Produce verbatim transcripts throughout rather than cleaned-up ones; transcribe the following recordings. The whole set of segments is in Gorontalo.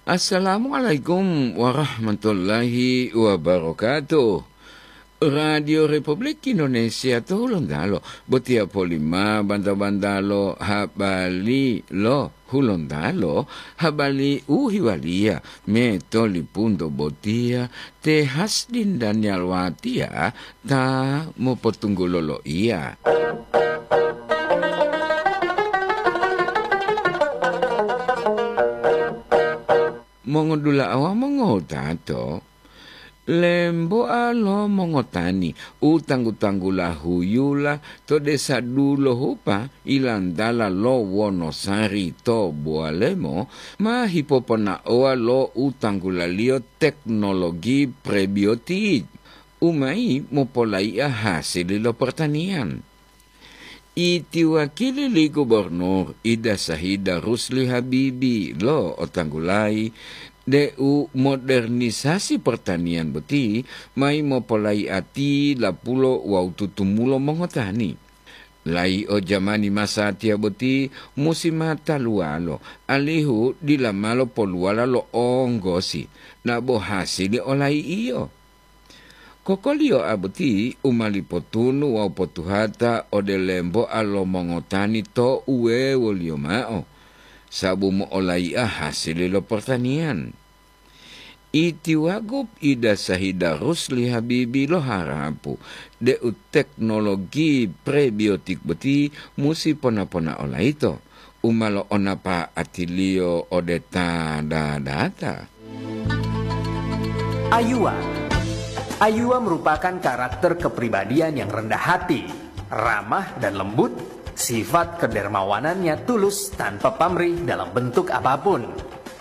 Assalamualaikum warahmatullahi wabarakatuh. Radio Republik Indonesia to Hulontalo, botiya polima banta-bantalo habari lo Hulontalo, habari u hiwaliya me tolipunto botiya te Hasdin Daniel Watiya ta mopotunggulo loiya. Mongodula'a wawu mongotato, lemboa lo mongotani u tanggu-tanggula huyula to desa Dulohupa ilantala lo Wonosari to Bowalemo ma hipoponaowa lo u tanggulaliyo teknologi prebiotik u mayi mopolaiya hasili lo pertanian. Iti wakili li Gubernur Ida Sahida Rusli Habibi lo otanggulayi deu modernisasi pertanian boti mayi mopolaiati lapulo wawu tutumulo mongotani. Layi'o jamani masatiya boti musi ma taluwalo, alihu dila malo poluwala lo onggosi, dabo hasili olayi'iyo. Kokoliyoa boti u ma lipotunu wawu potuhata ode lemboa lo mongotani to uwewoliyo mao, sabu mo'olai'a hasili lo pertanian. Iti Wagub Ida Sahida Rusli Habibi loharapu deu teknologi prebiotik boti musi pona-ponao layito, u ma lo'onapa'atiliyo ode ta dadata. Ayuwa. Ayuwa merupakan karakter kepribadian yang rendah hati, ramah dan lembut, sifat kedermawanannya tulus tanpa pamrih dalam bentuk apapun,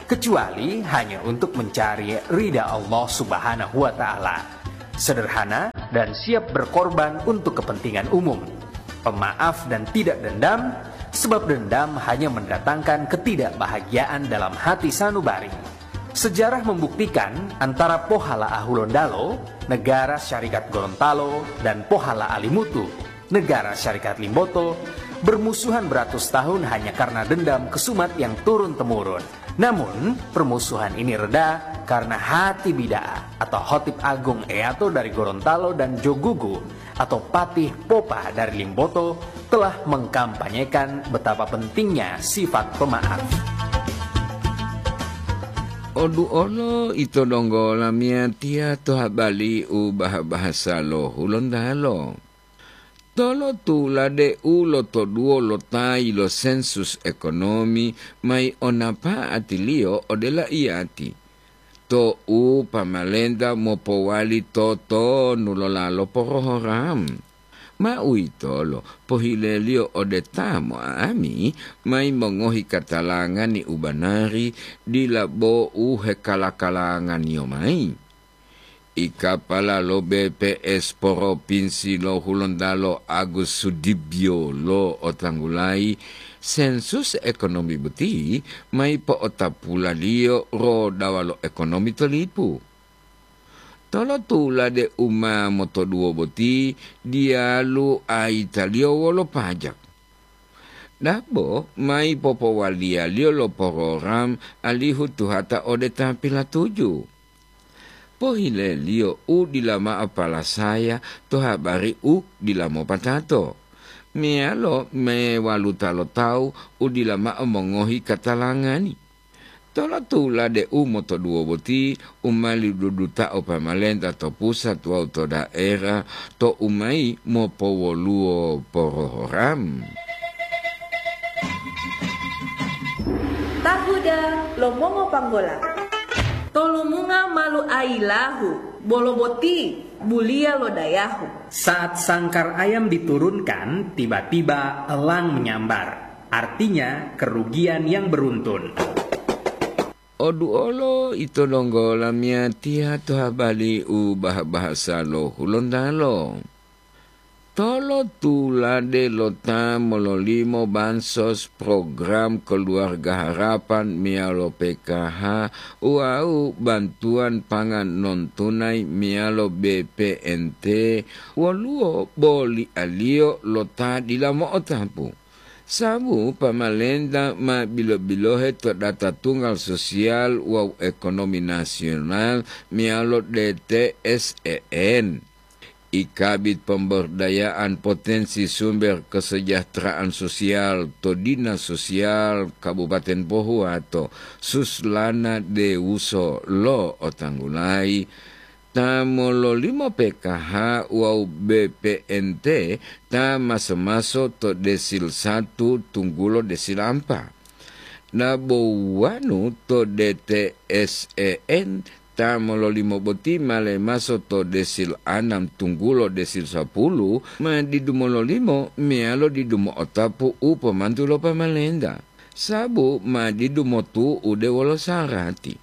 kecuali hanya untuk mencari ridha Allah Subhanahu wa Ta'ala. Sederhana dan siap berkorban untuk kepentingan umum. Pemaaf dan tidak dendam, sebab dendam hanya mendatangkan ketidakbahagiaan dalam hati sanubari. Sejarah membuktikan antara Pohala Ahulondalo, Negara Syarikat Gorontalo, dan Pohala Alimutu, Negara Syarikat Limboto, bermusuhan beratus tahun hanya karena dendam kesumat yang turun-temurun. Namun, permusuhan ini reda karena Hati Bida'a atau Hotib Agung Eyato dari Gorontalo dan Jogugu atau Patih Popa dari Limboto telah mengkampanyekan betapa pentingnya sifat pemaaf. Oduolo ito donggo lamiyatiya to habali u baha-bahasa lo Hulontalo. Tolotula deu lotoduwo lo tayi lo sensus ekonomi mayi o napa'atiliyo ode laiyati, to'u pamalenta mopowali totonu lolalo porohoram. Ma uwitolo pohileliyo ode ta mo'ami mayi mongohi katalangani u banari, dila bo u hekala-kalanganiyo mayi. Ikapala lo B P S Propinsi lo Hulontalo Agus Sudibyo lo otanggulayi sensus ekonomi boti mayi po'otapulaliyo rodawa lo ekonomi to lipu. Tolotula deu ma motoduwo boti diyalu ayitaliyo wolo pajak. Dabo mayi popowaliyaliyo lo porogram alihu tuhata ode ta pilatuju. Pohileliyo u dila mao palasaya to habari u dila mopatato, meyalo mewaluta lo tawu u dila mao mongohi katalangani. Tolotula deu motoduwo boti u ma lidudutao pamalenta to pusat wawu to daerah to u mayi mopowoluwo porogram. Tahuda lo mongopanggola. Tolumunga malu ayilahu, bolo boti buliya lo dayahu. Saat sangkar ayam diturunkan, tiba-tiba elang menyambar, artinya kerugian yang beruntun. Oduolo ito donggo lamiyatiya to habari u baha-bahasa lo Hulontalo. Tolotulade lo ta mololimo bansos program Keluarga Harapan meyalo P K H wawu bantuan pangan non tunai meyalo B P N T, woluwo bolialiyo lo ta dila mo'otapu. Sabu pamalenta ma bilo-bilohe to data tunggal sosial wawu ekonomi nasional meyalo D T S E N. I Kabid Pemberdayaan Potensi Sumber Kesejahteraan Sosial to Dinas Sosial Kabupaten Pohuwato, Suslana Dewuso lo'otanggulayi, ta mololimo P K H wawu B P N T ta maso-maso to desil satu tunggulo desil ampa. Nabowanu to D T S E N ta mololimo boti ma lemaso to desil anam tunggulo desil sapulu, ma didu mololimo meyalo didu mo'otapu u pomantu lo pamalenta, sabu ma didu motu'ude wolo sarati.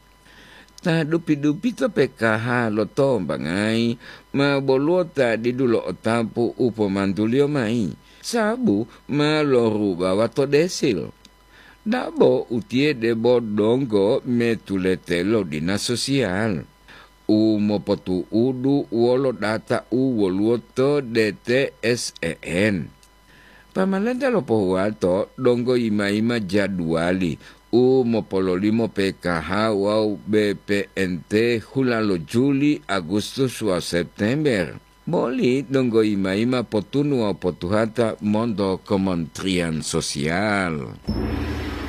Ta dupi-dupito P K H lotombangayi ma boluwo ta didu lo'otapu u pomantuliyo mayi, sabu ma lorubawa to desil. Dabo utiye debo donggo metulete lo dinas sosial u mopotu'udu wolo data u woluwo to D T S E N. Pamalenta lo Pohuwato donggo yima-yima jaduwali u mopololimo P K H wawu B P N T hula lo Juli, Agustus wawu September. Boli donggo yima-yima potunu wawu potuhata monto Kementerian Sosial.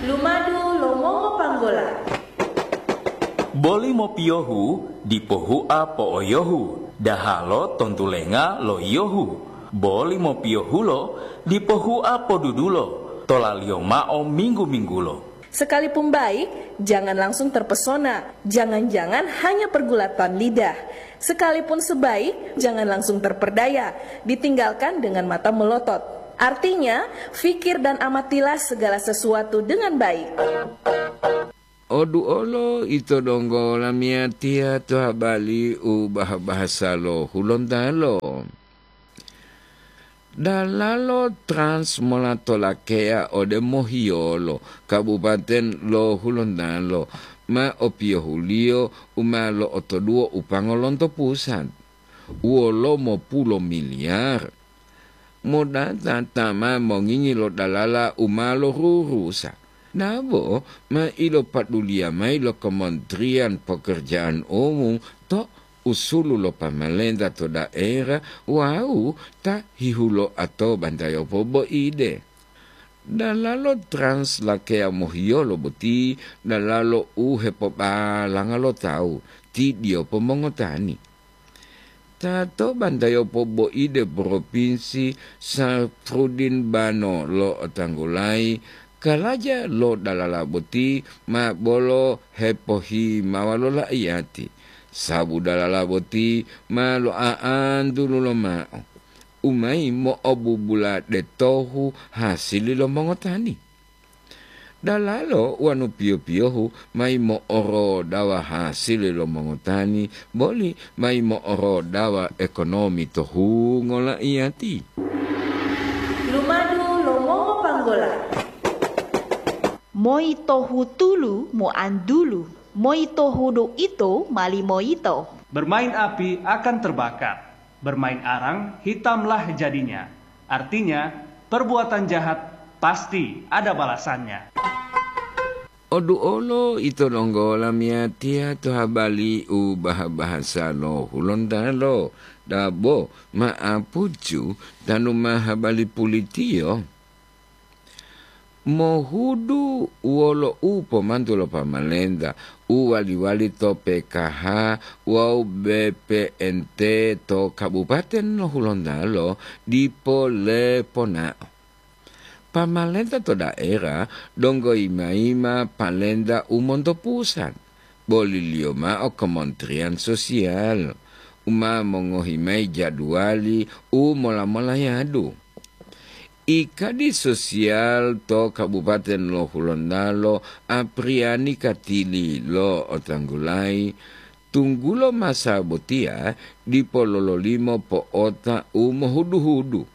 Lumadu lo mongopanggola. Boli mopiyohu dipo hua po'oyohu, dahalo tontulenga lo yiyohu. Boli mopiyohulo dipo hua podudulo, tolaliyo mao minggu-minggulo. Sekalipun baik, jangan langsung terpesona. Jangan-jangan hanya pergulatan lidah. Sekalipun sebaik, jangan langsung terperdaya. Ditinggalkan dengan mata melotot. Artinya, fikir dan amatilah segala sesuatu dengan baik. Oduolo ito donggo lamiyatiya to habali u bah-bahasa lo Hulontalo. Dalalo Trans mola tolakeya ode mohiyolo Kabupaten lo Hulontalo ma opiyohuliyo u ma lo'otoduwo upango lonto pusat, wolo mopulo miliyar. Modata ta ma mongingi lo dalala u ma lorurusa, nabo ma ilopaduliya mayi lo Kementerian Pekerjaan Umum to usulu lo pamalenta to daerah wawu ta hihuloa to bantayopo boide. Dalalo Trans lakeya mohiyolo boti dalalo u hepobalanga lo tawu, ti diyopo mongotani. Ta to bantayopo boide Propinsi Safrudin Bano lo'otanggulayi kalaja lo dalala boti ma bolo hepohimawa lo laiyati, sabu dalala boti ma lo'a'antulu lomao, u mayi mo'obubula detohu hasili lo mongotani. Dalalo wanu piyo-piyohu mayi mo'orodawa hasili lo mongotani, boli mayi mo'orodawa ekonomi to hungo laiyati. Lumadu lo mongopanggola. Moi tohu tulu moantulu, moi tohu do ito mali moyito. Bermain api akan terbakar, bermain arang hitamlah jadinya. Artinya, perbuatan jahat pasti ada balasannya. Oduolo ito donggo lamiyatiya to habali u baha-bahasa lo Hulontalo, dabo ma'apucu tanu ma habali pulitiyo. Mohudu wolo u pomantu lo pamalenta u wali-wali to P K H wawu B P N T to Kabupaten lo Hulontalo dipo leponao. Pamalenta to daerah donggo yima-yima palenta u monto pusat, boliliyo mao Kementerian Sosial, u ma mongohi mayi jaduwali u mola-molayadu. Ikadi sosial to Kabupaten lo Hulontalo, Apriani Katili lo'otanggulayi, tunggulo masa botiya dipo lololimo po'ota u mohudu-hudu.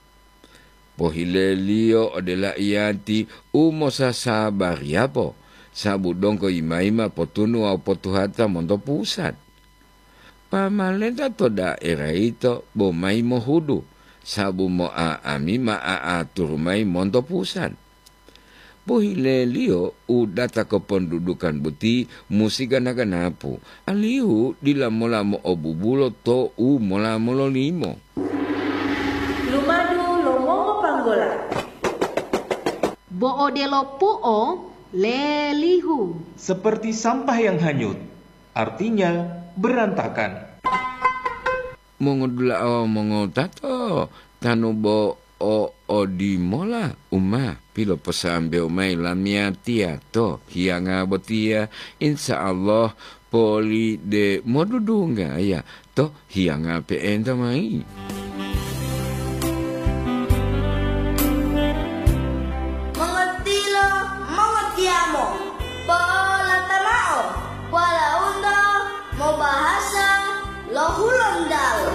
Pohileliyo ode laiyati u mosasabariyapo, sabu donggo yima-yima potunu wawu potuhata monto pusat. Pamalenta to daerah yito bo mayi mohudu, sabu mo'a'ami ma a'aturu mayi monto pusat. Pohileliyo u data kopondudukan boti musi gana-ganapu, alihu dila mola mo'obubulo to u mola mololimo. Lumadu lo mongopanggola. Bo odelo pu'o lelihu. Seperti sampah yang hanyut, artinya berantakan. Mongodula'a wawu mongotato, tanu bo o odimola u ma piloposambewo mayi lamiyatiya to hiyanga botiya, insya Allah poli de modudunggaya to hiyanga pe'enta mayi. Mongotilo, mongotiyamo, polata mao, walaundo mobahasa lo Hulontalo.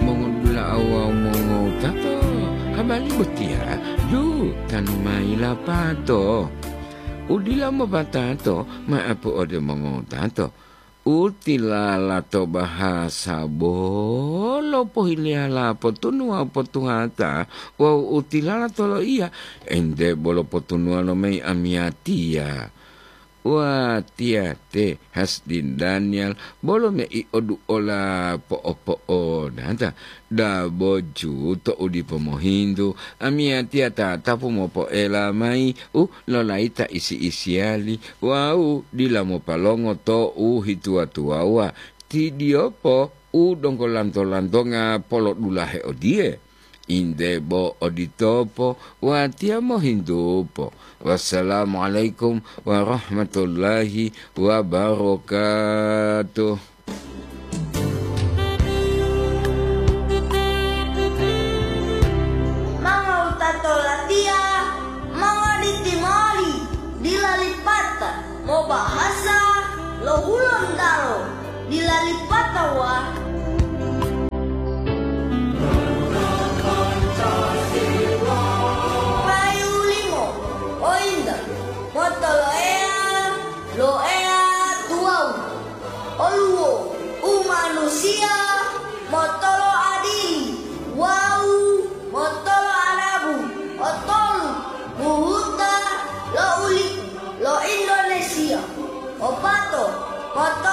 Mongodula'a wawu mongowutato, habari botiya du tanu mayi lapato. Udila mopatato ma'apu ode mongowutato. U tilala to bahasa bolo pohiliyala potunuwa potuhata wawu u tilala to loiya ente bolo potunuwa lomayi amiyatiya. Watiya te Hasdin Daniel bolo mei oduola po'opo'onata. Daboju to'u dipo mohintu, amiyatiya tatapu mopoela mayi u lolayita isi-isiyali wawu dila mopalongo to'u hituwa-tuwawuwa. Tidiyopo u donggo lanto-lantonga polodulahe odiye, inde bo oditopo watiya mohintupo. Wassalamualaikum warahmatullahi wabarakatuh. Mangowutato latiya, mongoditimoli, dila lipata mobahasa lo Hulontalo, dila lipata wa. Payu limo, ointa, motoloeya, lo eya tuwawu. Oluwo umanusiya motolo adili wawu motolo adabu, otolu buhuta lo ulipu lo Indonesia, opato motolo